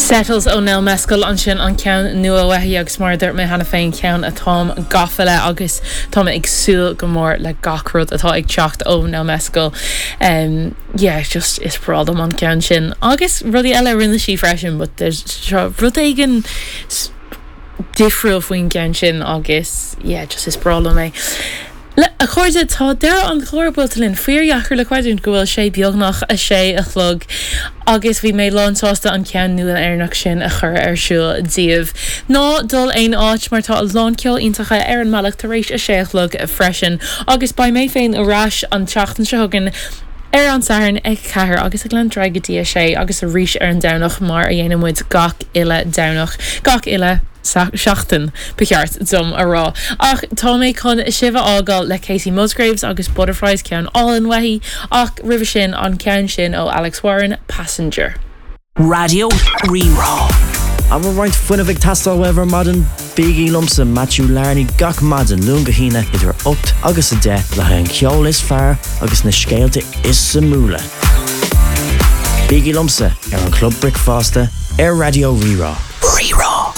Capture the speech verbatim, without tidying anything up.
Settles ó Nell Mescal ansin an ceann nua uaithi agus mar dúirt mé cheana féin ceann atáim gafa le agus tá ag súil go mór le gach rud atá ag teacht ó Nell Mescal. Um, yeah, just is breá liom an ceann sin. Agus rudaí eile rinne sí freisin, but there's rud éigin difriúil faoin gceann sin agus yeah, just is breá liom é. Le a chairde tá deireadh an chláir buailte linn fíordheacair le creidiúint go bhfuil sé beagnach a sé a chlog agus bhí mé lánsásta an ceann nua Éireannach sin a chur ar siúl daoibh. Ná dul aon áit mar tá a lán ceol iontacha ar an mbealach tar éis a sé a chlog freisin, agus beidh mé féin ar ais an tseachtain seo chugainn ar an Satharn ag ceathair agus ag lean go dtí a sé agus arís ar an Domhnach mar a dhéanann muid gach uile Domhnach gach uile seachtain ba cheart dom a rá. Ach tá mé chun sibh a fhágáil le Kacey Musgraves agus Butterflies ceann álainn uaithi ach roimhe sin an ceann sin ó Alex Warren Passenger. Raidió Rí-Rá. An bhfuil roinnt fuinnimh ag teastáil uaibh ar maidin bígí liomsa Matthew Larney gach maidin Luan go hAoine idir ocht agus a deich le haghaidh an ceol is fearr agus na scéalta is suimiúla. Bígí liomsa ar an Club Bricfeasta ar Raidió Rí-Rá. Rí-Rá.